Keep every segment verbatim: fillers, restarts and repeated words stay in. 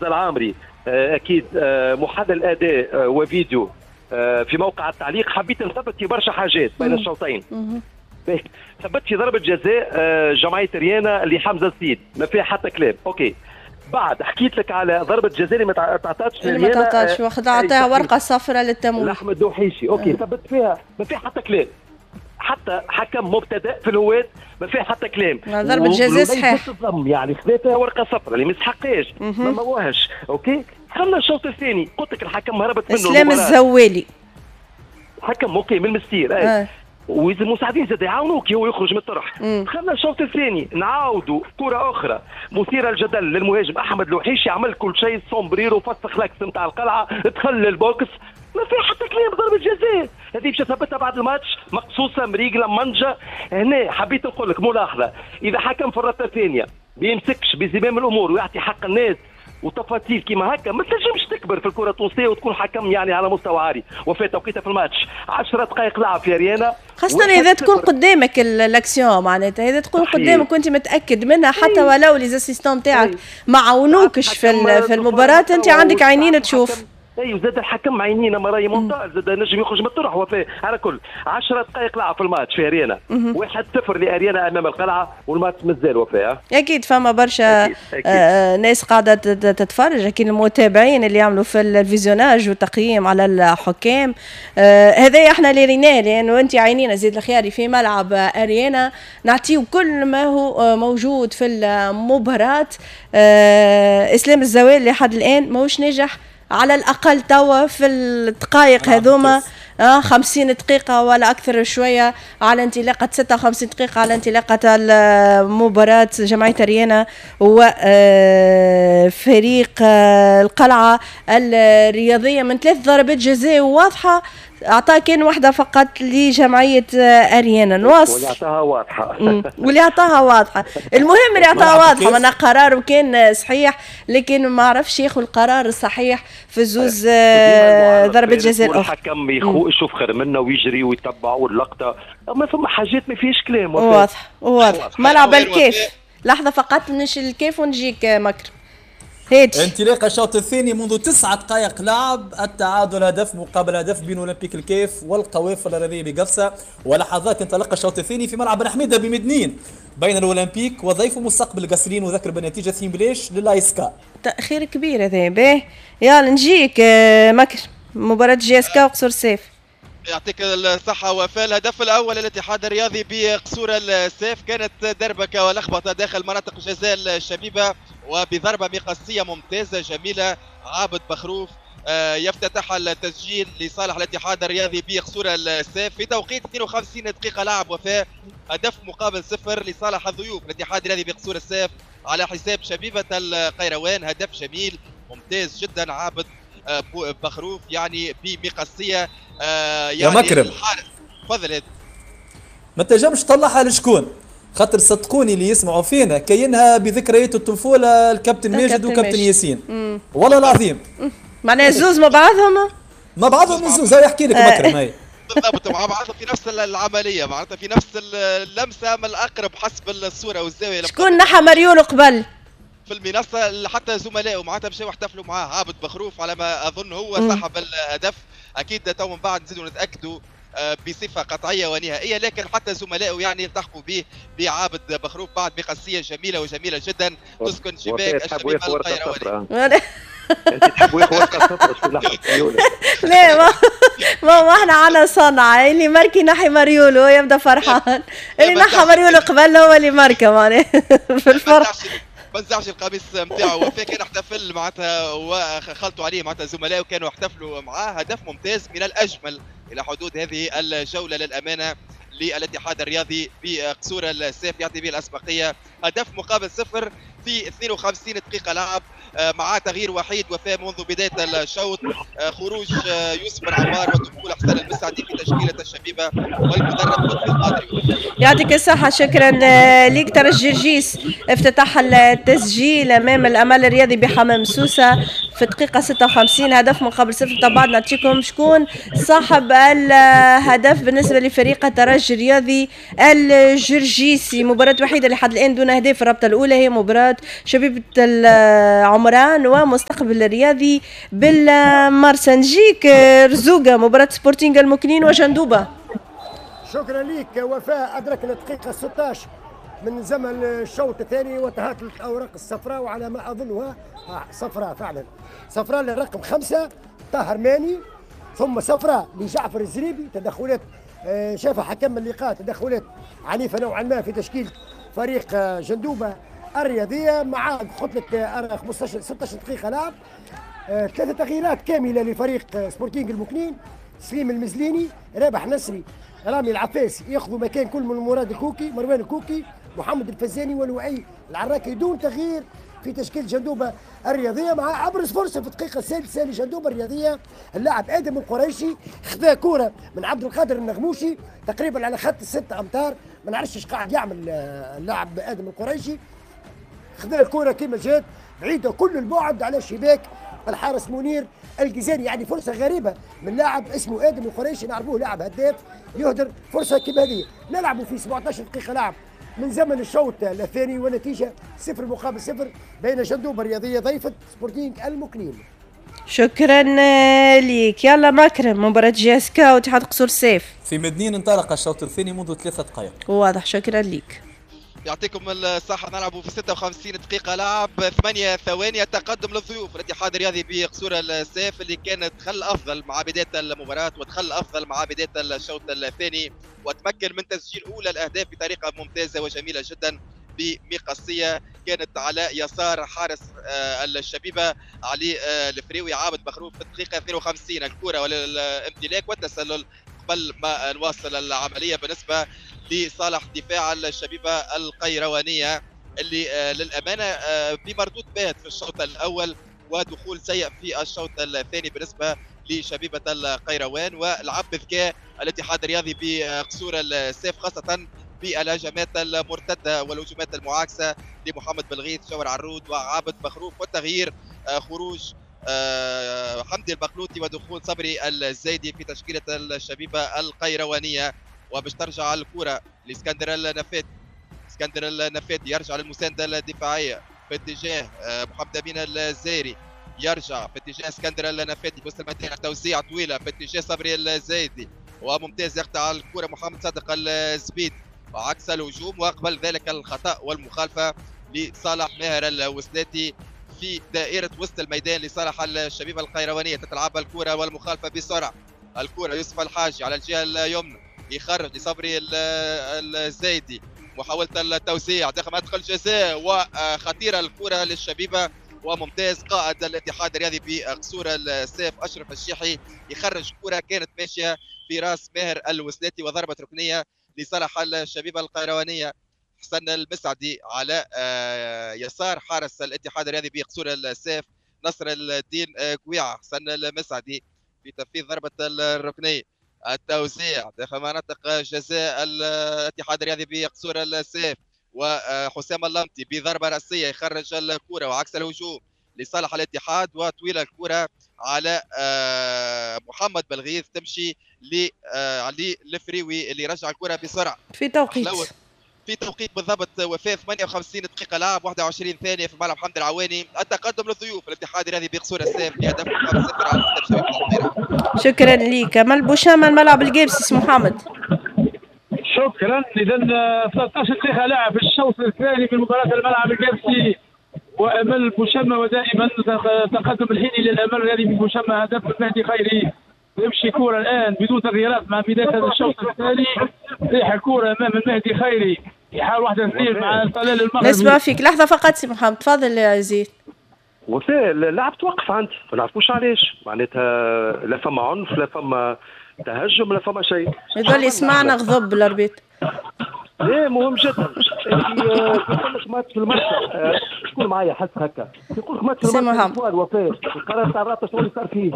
حمزة العامري اكيد محلل اداء وفيديو في موقع التعليق، حبيت نثبت في برشا حاجات بين الشوطين. ثبت في ضربه جزاء جمعية ريانا لحمزة السيد، ما فيها حتى كلام، OK. بعد حكيت لك على ضربه جزاء اللي ما تعطاتش، اللي ما تعطاتش، واخذ عطاها ورقة صفراء للتمويه لاحمد دوحيشي، OK. ثبت فيها ما فيها حتى كلام، حتى حكم مبتدئ في الهواة ما فيه حتى كلام. ضربة جزاء صحيح يعني خذا فيها ورقة صفراء اللي ما يستحقهاش، ما مواهش، OK. خلنا الشوط الثاني قلت لك الحكم هربت منه اسلام الزوالي حكم OK من المستير اي آه. وإذا المساعدين زاد يعاونوك هو يخرج من الطرح. دخلنا الشوط الثاني نعاودوا كرة أخرى مثيرة للجدل للمهاجم أحمد الوحيشي، عمل كل شيء سومبريرو فسخ l'axe نتاع القلعة، دخل لل box ما في حتى كلام، ضربة جزاء هذه باش ثبتها بعد الماتش مقصوصة مريقلة منجة. هنا حبيت نقول لك ملاحظة، إذا حكم في الرابطة الثانية بيمسكش بزمام الأمور ويعطي حق الناس وتفاصيل كيما هكا ما تنجمش تكبر في الكره التونسية وتكون حكم يعني على مستوى عالي. وفي توقيتها في الماتش عشرة دقائق لعب في اريانا، خاصة اذا تكون قدامك الاكسيون معناتها اذا تكون قدامك وانت متاكد منها حتى ولو les assistants تاعك ما عاونوكش في في المباراة، انت عندك عينين تشوف. اي وزاد الحكم عينينا مراي ممتاز، زاد نجم يخرج من الطرح. وفاء على كل عشرة دقائق لعب في الماتش في اريانا، واحد صفر لاريانا امام القلعة، والماتش مازال وفاء. اكيد فما برشا أكيد. أكيد. آه ناس قاعدة تتفرج، اكيد المتابعين اللي يعملوا في ال visionnage والتقييم على الحكام. آه هذا احنا اللي ريناه، لانه انت عينينا زيد الخياري في ملعب اريانا نعطيو كل ما هو موجود في المباراة. آه اسلام الزوال لحد الان ماهوش ناجح على الأقل توا في الدقائق هذوما، آه خمسين دقيقة ولا أكثر شوية على انطلاقة ستة وخمسين دقيقة على انطلاقة المباراة جمعية أريانا وفريق القلعة الرياضية من ثلاث ضربات جزاء واضحة، أعطاه كان واحدة فقط لجمعية أريانا. نواصل واللي أعطاها واضحة واللي أعطاها واضحة، المهم اللي أعطاها واضحة معناها قراره كان صحيح، لكن ما عرفش ياخذ القرار الصحيح في زوز ضربة جزاء الأخرى. الحكم يشوف خير منا ويجري ويتبع واللقطة، أما فما حاجات ما فيهاش كلام. واضح واضح. ملعب الكاف، لحظة فقط نمشي الكاف ونجيك مكرم. انطلاق الشوط الثاني منذ تسعة دقائق لعب، التعادل هدف مقابل هدف بين اولمبيك الكاف والقوافل الرياضية بقفصه، ولحظات انطلق الشوط الثاني في ملعب بن حميده بمدنين بين الاولمبيك وضيفه مستقبل القصرين، وذكر بالنتيجة اثنين بلاش للايسكا. تاخير كبير هذا. باهي يلا نجيك مكر مباراة JSK وقصور الساف. يعطيك الصحة وفاء. الهدف الأول للاتحاد الرياضي بقصور السيف كانت دربكة ولخبطة داخل مناطق جزاء الشبيبة، وبضربة مقصية ممتازة جميلة عابد بخروف يفتتح التسجيل لصالح الاتحاد الرياضي بقصور السيف في توقيت اثنين وخمسين دقيقة لعب وفاء. هدف مقابل صفر لصالح الضيوف الاتحاد الرياضي بقصور السيف على حساب شبيبة القيروان. هدف جميل ممتاز جدا عابد بخروف يعني بمقصيه يعني يا مكرم تفضل. ما تنجمش تطلعها لشكون، خاطر صدقوني اللي يسمعوا فينا كاينها بذكريات الطفولة الكابتن ماجد وكابتن ياسين. مم. والله العظيم معناها زوز مع بعضهم مع بعضهم الزوز. هاي يحكي لك مكرم هاي بالضبط مع بعضهم في نفس العملية، معناتها في نفس اللمسة من الاقرب حسب الصورة والزاويه. شكون نحى مريول قبل في المنصة حتى زملائه معناتها مشاو احتفلوا معاه. عابد بخروف على ما اظن هو صاحب الهدف، اكيد تو من بعد نزيدوا نتاكدوا بصفة قطعية ونهائيه، لكن حتى زملائه يعني التحقوا به بعابد بخروف بعد بقصيه جميلة وجميلة جدا تسكن شباك الشبيبة القيرواني. انت تحبوا ياخذ ورقة صفراء؟ لا ما ما, ما احنا عنا صنعه، اللي ماركي نحي مريولو يبدا فرحان، اللي نحى مريولو قبل هو اللي ماركة معناها في الفرح. ما نزعش القميص نتاعو وفاء، كان احتفل معناتها وخلطوا عليه معناتها زملائه كانوا احتفلوا معاه. هدف ممتاز من الاجمل الى حدود هذه الجولة للامانة للاتحاد الرياضي بقصور السيف، يعطي به الاسبقيه. هدف مقابل صفر في اثنين وخمسين دقيقة لعب مع تغيير وحيد وفاء منذ بداية الشوط، خروج يوسف بن عمار ودخول حسن المسعدي في تشكيله الشبيبة والمدرب لطفي القادري. يعطيك الصحة، شكرا ليك. ترجي جرجيس افتتح التسجيل امام الامل الرياضي بحمام سوسة في دقيقة ستة وخمسين، هدف مقابل صفر. طبعا نعطيكم شكون صاحب الهدف بالنسبة لفريق الترجي الرياضي الجرجيسي. مباراة وحيده لحد الان دون اهداف الرابطة الاولى هي مباراة مباراة شبيبة العمران ومستقبل الرياضي بالمرسى. نجيك رزوقة، مباراة سبورتينغ المكنين وجندوبة. شكرا لك وفاء. أدركنا الدقيقة ستة عشر من زمن الشوط الثاني وتهاتلت الأوراق الصفراء، وعلى ما أظنها صفراء فعلا، صفراء للرقم خمسة طاهر ماني، ثم صفراء لجعفر الزريبي. تدخلات شاف حكم اللقاء تدخلات عنيفة نوعا ما في تشكيل فريق جندوبة الرياضية، مع قلت لك خمسة عشر ستة عشر دقيقة لعب، ثلاثة تغييرات كاملة لفريق سبورتينغ المكنين، سليم المزليني، رابح نصري، رامي العفاس ياخذوا مكان كل من مراد الكوكي، مروان الكوكي، محمد الفزاني ولؤي العراكي، دون تغيير في تشكيل جندوبة الرياضية. مع أبرز فرصة في الدقيقة السادسة لجندوبة الرياضية اللاعب آدم القريشي، خذا كرة من عبد القادر النغموشي تقريبا على خط الست أمتار، ما نعرفش ايش قاعد يعمل اللاعب آدم القريشي، خذا الكرة كما جات بعيدة كل البعد على شباك الحارس منير الجزائري. يعني فرصة غريبة من لاعب اسمه آدم القريشي، نعرفوه لاعب هداف، يهدر فرصة كما هذه. نلعبوا في سبعة عشر دقيقة لعب من زمن الشوط الثاني، ونتيجة صفر مقابل صفر بين جندوبة الرياضية ضيفة سبورتينغ المكنين. شكرا لك. يلا مكرم، مباراة JSK واتحاد قصور السيف في مدنين، انطلق الشوط الثاني منذ ثلاثة دقائق. واضح، شكرا لك. يعطيكم الصحة. نلعبوا في ستة وخمسين دقيقة لعب، ثمانية ثواني، التقدم للضيوف الاتحاد الرياضي بقصور السيف اللي كان دخل أفضل مع بداية المباراة ودخل أفضل مع بداية الشوط الثاني، وتمكن من تسجيل أولى الأهداف بطريقة ممتازة وجميلة جدا بمقصية كانت على يسار حارس الشبيبة علي الفريوي عابد مخروف في الدقيقة اثنين وخمسين. الكرة والامتلاك والتسلل قبل ما نواصل العملية بالنسبة لصالح دفاع الشبيبة القيروانية اللي للأمانة بمردود باهت في الشوط الأول ودخول سيء في الشوط الثاني بالنسبة لشبيبة القيروان، ولعب بذكاء الاتحاد الرياضي بقصور السيف خاصة بالهجمات المرتدة والهجمات المعاكسة لمحمد بلغيث، شاور عرود وعابد مخروف، والتغيير خروج حمدي البقلوطي ودخول صبري الزايدي في تشكيلة الشبيبة القيروانية. وباش ترجع الكرة لاسكندر النفاتي، اسكندر النفاتي يرجع للمساندة الدفاعية في اتجاه محمد أمين الزايري، يرجع في اتجاه اسكندر النفاتي في وسط الميدان، توزيع طويلة في اتجاه صبري الزايدي وممتاز يقطع الكرة محمد صادق الزبيد وعكس الهجوم، وقبل ذلك الخطأ والمخالفة لصالح ماهر الوسلاتي في دائرة وسط الميدان لصالح الشبيبة القيروانية. تتلعب الكرة والمخالفة بسرعة، الكرة يوسف الحاجي على الجهة اليمنى يخرج لصبري الزايدي، محاولة التوسيع داخل مدخل الجزاء وخطيرة الكرة للشبيبة وممتاز قائد الاتحاد الرياضي بقصور السيف أشرف الشيحي يخرج كرة كانت ماشية في راس ماهر الوسلاتي وضربة ركنية لصالح الشبيبة القيروانية. حسن المسعدي على يسار حارس الاتحاد الرياضي بقصور السيف نصر الدين كويعة. حسن المسعدي في تنفيذ ضربة الركنية، التوزيع داخل مناطق جزاء الاتحاد الرياضي بقصور السيف وحسام اللمطي بضربة رأسية يخرج الكرة وعكس الهجوم لصالح الاتحاد، وطويلة الكرة على محمد بلغيث تمشي لعلي الفريوي اللي رجع الكرة بسرعة في توقيت في توقيت بالضبط وفاء ثمانية وخمسين دقيقة لعب واحد وعشرين ثانية في ملعب حمد العواني. التقدم للضيوف الاتحاد الرياضي بقصور السيف بهدف مقابل صفر على حساب شبيبة القاهرة. شكرا لك. أمل بوشامة الملعب القابسي سي محمد. شكرا. اذا ثلاثة عشر دقيقة لعب في الشوط الثاني من مباراة الملعب القابسي وامل بوشامة، ودائما تقدم الحين للامل الرياضي بوشامة هدف المهدي خيري. يمشي كرة الآن بدون تغييرات مع بداية هذا الشوط الثاني، ريح الكرة أمام المهدي خيري يحاول واحدة اثنين مع طلال المغربي. نسمع فيك لحظة فقط سي محمد، تفضل يا زيد. وفاء اللعب توقف عندي، ما نعرفوش علاش، معناتها لا فما عنف لا فما تهجم لا فما شيء. يظل يسمعنا غضب ال arbitre. لا مهم جدا. يقول لك ماتش في الماتش، شكون معايا حس هكا؟ يقول لك ماتش في الماتش وفاء القرار تاع الرابطة شنو اللي صار فيه؟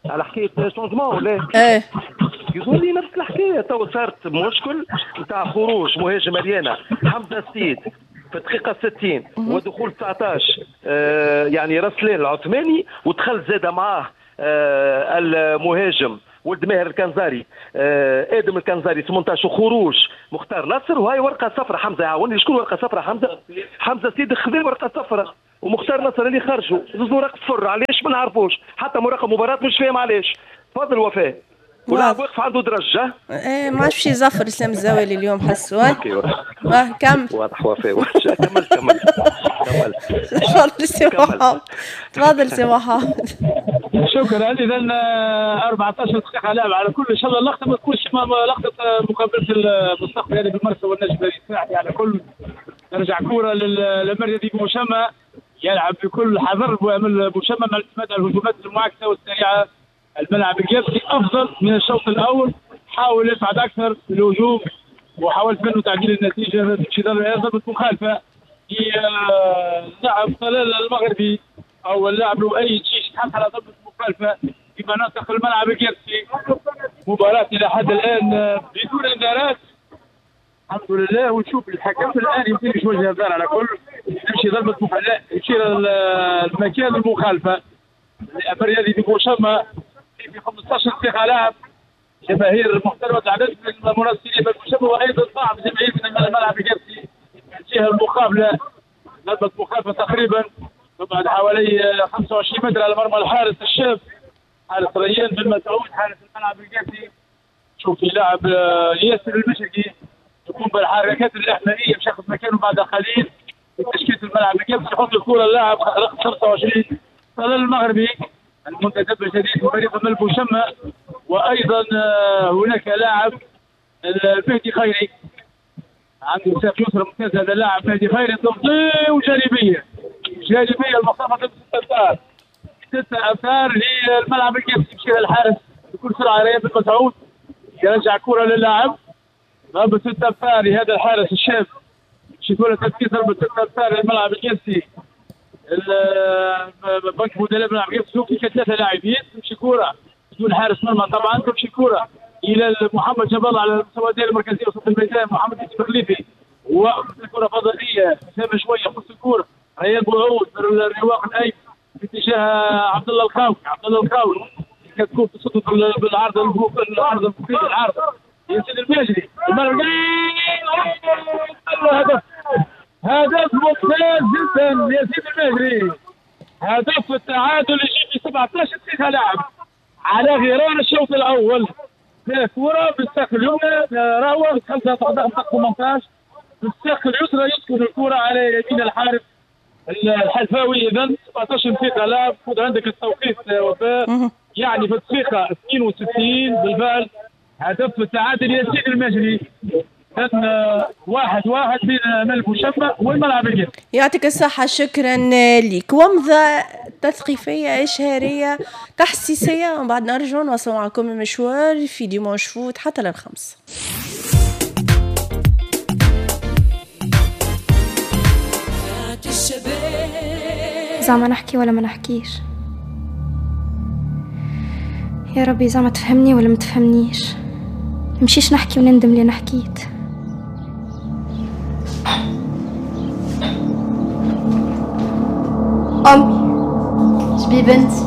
على حكاية changement ولا؟ ايه يظهر لي نفس الحكاية، تو صارت مشكل نتاع خروج مهاجم اريانا حمزة السيد في الدقيقة ستين ودخول تسعطاش آه يعني رسلان العثماني، ودخل زاد معاه آه المهاجم ولد ماهر الكنزاري آه ادم الكنزاري ثمنطاش وخروج مختار نصر. وهي ورقة صفراء حمزة يعاوني. شكون ورقة صفراء حمزة؟ حمزة سيد خذا ورقة صفراء ومختار نصر اللي خرجوا زوز ورق صفر، علاش ما نعرفوش، حتى مراقب مباراة مش فاهم علاش. تفضل وفاء. ولاعب واقف عنده درجه. ايه ما عادش باش يزفر اسلام الزوالي اليوم حسوا. اه كمل. واضح وفاء. كمل كمل كمل. تفضل سي محمد. تفضل سي محمد. شكرا. اذا أربعطاش دقيقة لعب على كل، ان شاء الله اللقطة ما تكونش لقطة مقابله المستقبل يعني بالمرسى والنجم الساحلي. على كل ترجع كره للمريض بوشمه، يلعب بكل حذر بوشمه مع الاعتماد على الهجمات المعاكسة والسريعه. الملعب الجبسي افضل من الشوط الاول، حاول يصعد اكثر في الهجوم وحاولت منه تعديل النتيجة. تمشي ضربه مخالفة للاعب طلال المغربي او اللاعب لؤي تشيش، تحصل على ضربه مخالفة في مناطق الملعب الجبسي. مباراة الى حد الان بدون انذارات الحمد لله. ونشوف الحكم الان يمكن يوجه انذار على كل، تمشي ضربه مخالفة يشير المكان المخالفة الرياضي بوشمه في خمسطاش دقيقة لعب. جماهير محترمه العدد من المناصرين بالمشابه وايضا بعض الجماهير من الملعب الجبسي الجهة المقابلة. ضربه مخالفة تقريبا تبعد حوالي خمسة وعشرين متر على مرمى الحارس الشاب حارس ريان بن مسعود حارس الملعب الجبسي. شوف لاعب ياسر المشرقي يقوم بالحركات الاحمائيه باش ياخذ مكانه بعد قليل في تشكيله الملعب الجبسي. يحط الكره اللاعب رقم خمسة وعشرين طلال المغربي المنتدب الجديد في فريق الملك بوشمه. وايضا هناك لاعب المهدي خيري عنده ساق يسرى ممتاز. هذا اللاعب مهدي خيري تمضي وجانبيه، جانبيه المسافة ستة امتار، ستة امتار للملعب الجبسي. يمشي الحارس بكل سرعة ريان بن مسعود يرجع كره للاعب. ضربه ستة امتار لهذا الحارس الشاب، شي تنفيذ ضربه ستة امتار للملعب الجبسي. بنك بدلاء بن عبد الشوفي ثلاثة لاعبين. تمشي كره بدون حارس مرمى طبعا، تمشي كره الى محمد جبل على المستوى الدائري المركزي وسط الميدان. محمد يوسف الخليفي وكره فضائية مسافة شوية قص الكره ريان بوعود الرواق الايمن في اتجاه عبد الله الخاوي. عبد الله الخاوي كتكون تصد بالعرض العرض العرض ياسين الماجري. هدف هدف ممتاز جدا ياسين المهري، هدف التعادل يجي في سبعطاش دقيقة لعب على غرار الشوط الأول. كرة بالساق اليمنى راوغ خمسة ثمنطاش بالساق اليسرى يسكن الكرة على يمين الحارس الحلفاوي. إذا سبعطاش دقيقة لعب. خذ عندك التوقيت وفاء، يعني في الدقيقة اثنين وستين بالفعل هدف التعادل ياسين المجري. واحد واحد بين ملك وشمة والملعب الجبسي. يعطيك الصحة، شكرا لك. ومضة تثقيفية إشهارية تحسيسية ومن بعد نرجع نواصل معكم المشوار في Dimanche Foot حتى للخمس. زعما نحكي ولا ما نحكيش؟ يا ربي زعما تفهمني ولا ما تفهمنيش؟ نمشيش نحكي ونندم لي حكيت. أمي شبي بنتي؟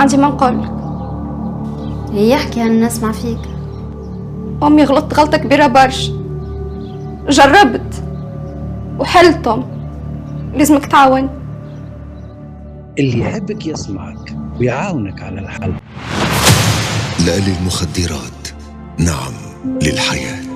عندي ما نقولك. هي احكي أنا نسمع فيك. أمي غلطت غلطة كبيرة برشا، جربت وحلتم، لازمك تعاون. اللي يحبك يسمعك ويعاونك على الحل. لا للمخدرات، نعم للحياة.